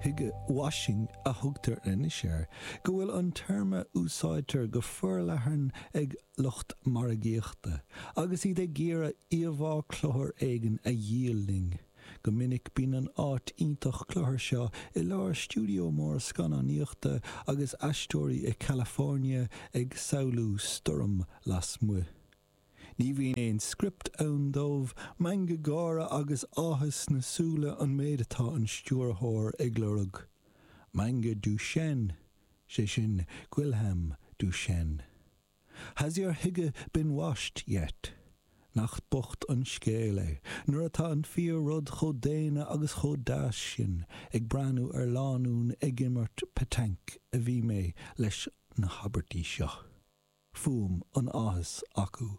Hygge washing a thugtar anois air, go bhfuil an téarma úsáidtear go forleathan ag lucht margaíochta agus iad ag iarraidh íomhá cluthar éigin a dhíol linn. Go minic bíonn an áit iontach cluthar seo i lár stiúideo mór scannánaíochta agus aisteoirí i California ag samhlú stoirm lasmuigh. Ní bhíonn aon script ann dóibh, meangadh gáire agus áthas sna súile an méid atá an stiúrthóir ag lorg. Meangadh Duchenne, sé sin Guilhem Duchenne. Has your hygge been washed yet? Nach bocht an scéal é, nuair atá an fíor-rud chomh daonna agus chomh deas sin, ag breathnú ar lánúin ag imirt petanque a bhí mé leis na habairtí seo. Fuaim an áthais acu.